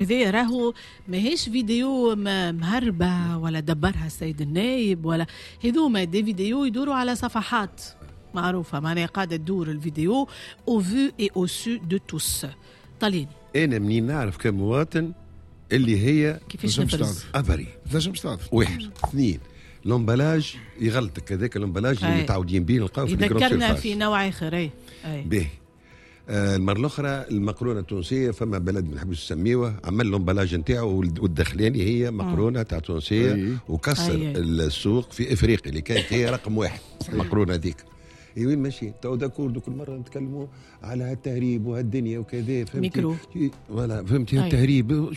هذايا راهو ماهيش فيديو مهربة ولا دبرها السيد النايب ولا هذوما des vidéos يدوروا على صفحات معروفة، معناها قاعدة تدور الفيديو au vu et au su de tous. طليني انا منين نعرف كمواطن اللي هي كيفاش نفرز؟ افري تنجمش تعرف. واحد، اثنين، l'emballage يغلطك، هذاك l'emballage اللي متعودين به نلقاو في يذكرنا في نوع اخر. اي باهي. المرة الاخرى المقرونه التونسية، فما بلد ما نحبش نسميوه عمل l'emballage نتاعو والدخلاني هي مقرونة تاع تونسية وكسر السوق في افريقيا اللي كانت هي رقم واحد المقرونه هذيك. وين ماشي تو d'accord، كل مرة نتكلموا على هالتهريب وهالدنيا وكذا، فهمتي؟ ميكرو voilà، فهمتي؟ التهريب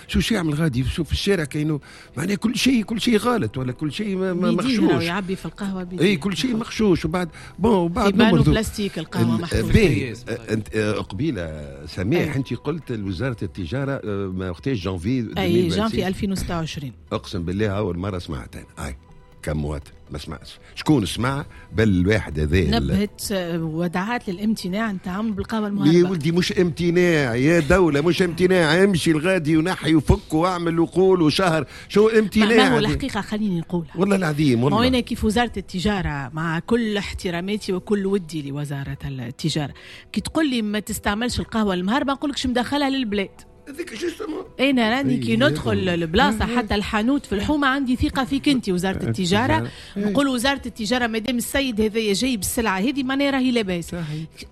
شو يعمل غادي؟ شو في الشارع كاينو معناها كل شيء، كل شيء غلط ولا كل شيء مغشوش، يعبي في القهوة. اي كل شيء مغشوش. وبعد bon وبعد نمرضوا بلاستيك القهوة محطوطة. باهي، انت قبيلة سميح انت قلت لوزارة التجارة ما وقتاش؟ جانفي. اي جانفي 2026. اقسم بالله اول مرة سمعت انا اي كمواطن، ما سمعتش شكون سمع، بل الواحد هذا نبهت ودعات للامتناع عن التعامل بالقهوة المهربه. يا ولدي مش امتناع يا دولة، مش امتناع، امشي الغادي ونحي وفك واعمل وقول وشهر، شو امتناع؟ ما هو الحقيقة خليني نقولها والله العظيم والله. ما كيف وزارة التجارة، مع كل احتراماتي وكل ودي لوزارة التجارة، كي تقول لي ما تستعملش القهوة المهربه نقول لك شو مدخلها للبلاد؟ هذيك justement. انا راني كي ندخل البلاصة حتى الحانوت في الحومه عندي ثقة فيك انت وزارة التجارة. نقول وزارة التجارة مادام السيد هذايا جايب السلعة هذه معناها راهي لاباس،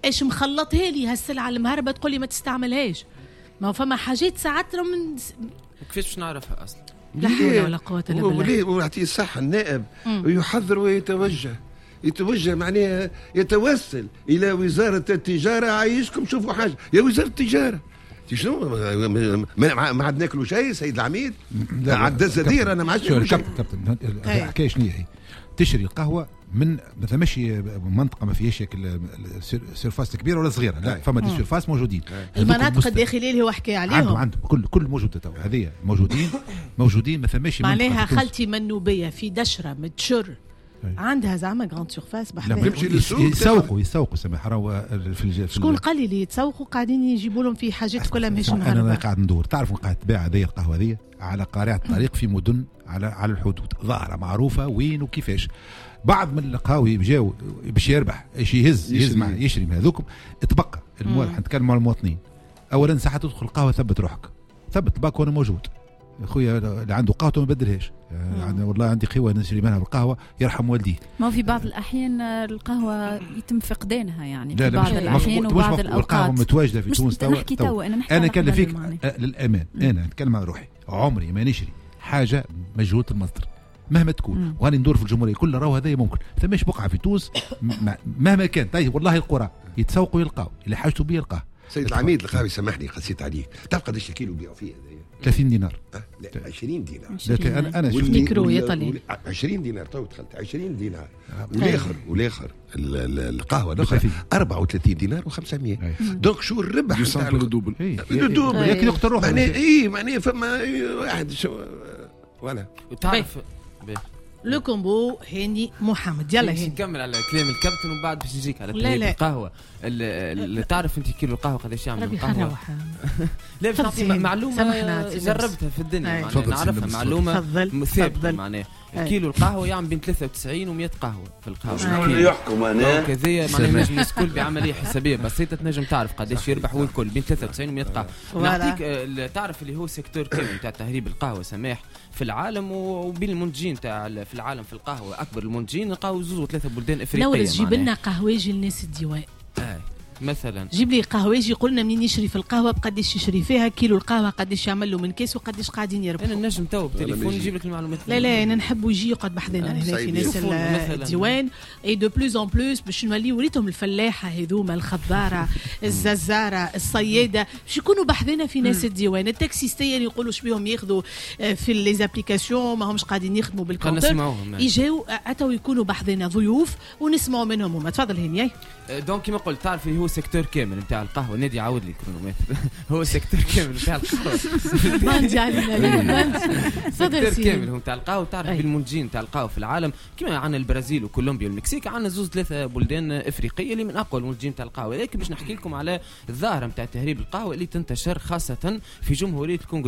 ايش مخلطها لي هالسلعه المهربه تقول لي ما تستعملهاش؟ ما فما حاجات ساعات من كيفاش باش نعرفها اصلا؟ لا حول ولا قوة الا بالله. ويعطيه الصحة النائب ويحذر ويتوجه، يتوجه معناها يتوسل الى وزارة التجارة، عايشكم شوفوا حاجة يا وزارة التجارة. شنو ما عاد ناكلوا شيء سيد العميد؟ عاد الزدير انا ما عادش ناكلوا شيء. كابتن الحكاية شنو هي؟ تشري القهوة من ما ثماش منطقة ما فيهاش surface كبيرة ولا صغيرة، لا فما des surfaces موجودين. المناطق الداخلية اللي هو حكى عليهم عندهم كل موجودة تو هذه موجودين ما ثماش. معناها خالتي منوبيه في دشره متشر عندها زعما grande surface بحذاها. يسوقوا سامح راهو في شكون قال لي اللي يتسوقوا قاعدين يجيبوا لهم في حاجات كلها ماهيش مهربه. انا قاعد ندور، تعرفوا قاعد تباع هذه القهوة هذه على قارعة الطريق في مدن على الحدود، ظاهره معروفة وين وكيفاش. بعض من القهاوي جاو باش يربح ايش يهز مع يشري من هذوكم. تبقى المواطن، نتكلم على المواطنين. اولا ساعة تدخل القهوة ثبت روحك، ثبت باك وانا موجود. خويا اللي عنده قهوة ما بدلهاش، يعني والله عندي قهوة نشري منها بالقهوة يرحم والديه. ما في بعض الاحيان القهوة يتم فقدانها يعني في بعض الاحيان وبعض الاوقات. القهوة متواجدة في تونس توا. انا كان فيك للامان، انا نتكلم على روحي، عمري ما نشري حاجة مجهولة المصدر مهما تكون. وأنا ندور في الجمهورية كلها راهو هذا ممكن ثماش بقعة في تونس مهما كان. طيب والله القرى يتسوقوا يلقاو اللي حاجته بيه يلقاه. سيد العميد القهوي سامحني قسيت عليك، تعرف قداش الكيلو بيعوا فيه هذايا؟ 30 دينار. لا 20 دينار. انا شفت ميكرو يا طلي 20 دينار تو دخلت 20 دينار. والاخر القهوة الاخرى 34 دينار و500. donc شو الربح نتاع ال double؟ ال double لكن يقتل روحه. معناها اي معناها فما واحد شو voilà تعرف le combo هاني محمد. يلا هاني نكمل على كلام الكابتن ومن بعد باش نجيك على تهريب القهوة. اللي تعرف انت كيلو القهوة قداش يعمل القهوة؟ لا باش نعطي معلومة جربتها في الدنيا، معناها نعرفها معلومة ثابتة. معناها كيلو القهوة يعمل بين 93 و100 قهوة في القهوة. شنو اللي يحكم انا؟ كذا معناها نجم الناس الكل بعملية حسابيه بسيطة تنجم تعرف قداش يربح والكل بين 93 و100 قهوة. نعطيك تعرف اللي هو secteur كامل تاع تهريب القهوة سماح في العالم وبين المنتجين تاع في العالم في القهوة. اكبر المنتجين نلقاو زوز وثلاثة بلدان افريقية. نورس جيب لنا قهوجي لناس الديوان مثلا، جيب لي قهوجي قلنا منين يشري في القهوة، بقداش يشري فيها، كيلو القهوة قداش يعمل له من كاس وقداش قاعدين يربحوا. انا نجم تو بتليفون نجيب لك المعلومات. لا لا انا نحب يجي يقعد بحذانا هنا في ناس الديوان. et de plus en plus باش نولي وريتهم الفلاحة هذوما، الخضاره، الززاره، الصياده، باش يكونوا بحذانا في ناس الديوان. التاكسيستيه اللي يقولوا شبيهم ياخذوا في les applications ما همش قاعدين يخدموا بال compteur، يجاو اتوا يكونوا بحذانا ضيوف ونسمعوا منهم هما. تفضل هاني. donc كيما قلت تعرف اللي هو هو secteur كامل نتاع القهوة. نادي عاود لي chronomètre. هو secteur كامل نتاع القهوة. باندي علينا. secteur كامل هو نتاع القهوة. تعرف بالمنتجين نتاع القهوة في العالم كما عندنا البرازيل وكولومبيا والمكسيك، عندنا زوز ثلاثة بلدان افريقية اللي من اقوى المنتجين نتاع القهوة. لكن باش نحكي لكم على الظاهرة نتاع تهريب القهوة اللي تنتشر خاصة في جمهورية الكونغو.